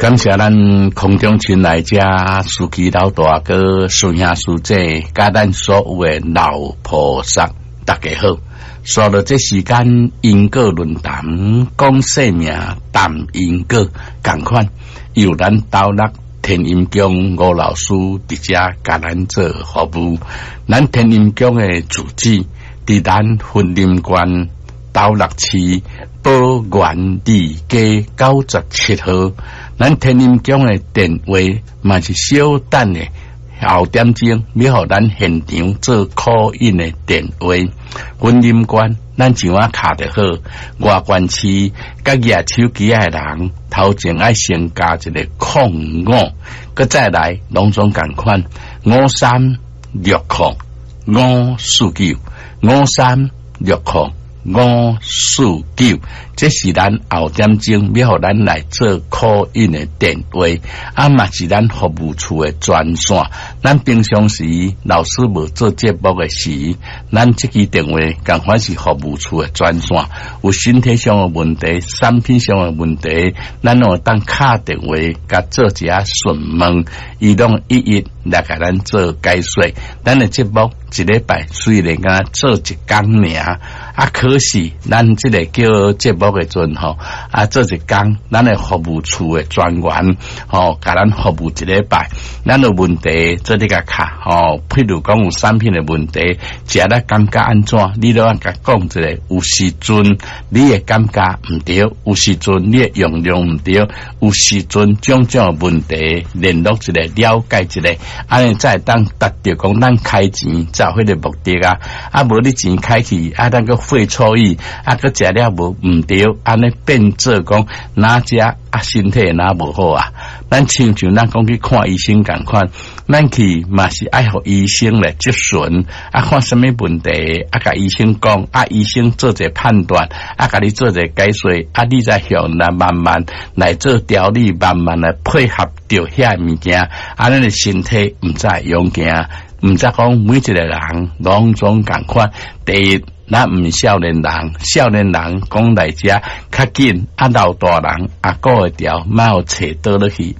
感謝咱空中親愛者司機老大哥、師兄師姐，佮咱所有的老菩薩，大家好。紲落這時間因果論壇講生命談因果，仝款由咱斗六天音宮吳老師佇遮共咱做服務。咱天音宮的住址佇咱雲林縣斗六市寶源二街97號。咱天音宮的電話嘛是小等的後點鐘，欲予咱現場做 call in 的電話。雲林縣咱上仔敲就好，外縣市佮舉手機仔的人，頭前愛先加一個空五，閣再來攏總仝款5360549，5360549，這是咱後點鐘欲予咱來做 call in 的電話，啊嘛是咱服務處的專線。咱平常時老師無做節目的時，咱這支電話仝款是服務處的專線。有身體上的問題、產品上的問題，咱攏會當敲電話共做一下詢問，伊攏一一來共咱做解說。咱的節目一禮拜雖然敢做一工爾，啊，可是咱這个叫節目的陣吼，啊，做一工，咱的服務處的專員吼，共咱服務一禮拜，咱有問題做你共敲吼，譬如講有產品的問題，食了感覺按怎，你攏愛共講一下。有時陣你會感覺毋對，有時陣你的用量毋對，有時陣種種的問題，聯絡一下，了解一下，按呢才會當達著講咱開錢才有彼个目的啊！啊，無你錢開去，啊，咱閣費錯意，啊，閣食了無毋對，按呢變做講若食啊，身體若無好啊。咱親像咱講去看醫生仝款，咱去嘛是愛予醫生來諮詢，啊，看啥物問題，啊，共醫生講，啊，醫生做一個判斷，啊，共你做一個解說，啊，你再向來慢慢來做調理，慢慢來配合著遐物件，啊，咱的身體毋才會勇健，毋知講每一個人攏總仝款。第一，咱毋是少年人，少年人講來遮較緊，啊，老大人也顧會牢，莫予揣倒落去。